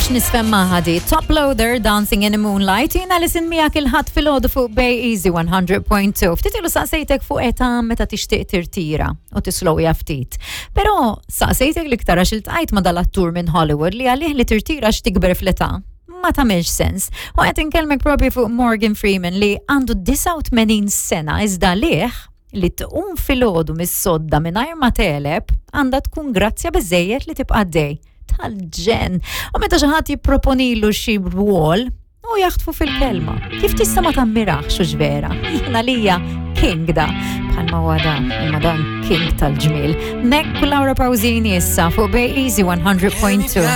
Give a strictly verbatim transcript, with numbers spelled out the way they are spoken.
nafx nisfem maħadi. Top Loader, Dancing in the Moonlight, jiena li sin miegħek il-Ħadd filgħodu fuq Bay Easy one hundred point two. Ftit ilu saqsejtek fuq età meta tixtieq tirtira u tislowja ftit. Però saqsejtek l-iktar għax iltqajt ma' dal-attur minn Hollywood li għalih li tirtira x'tikber fl-età ma tagħmilx sens. U qed inkellmek propju fuq Morgan Freeman li għandu disgħa u tmenin sena, iżda liħ li tqum filgħodu mis-sodda mingħajr ma teleb għandha tkun grazzja biżejjed li tibqa' dej. Tal-ġenn. U meta xi ħadd jipproponilu xi rwol, u jaħtfu fil-kelma. Kif tista' ma tammirax u vera? Jiena lija king da. Bħalma wada, imma dan king tal-ġmil. Nek Laura Pausini issa fuq Bay Easy one hundred point two.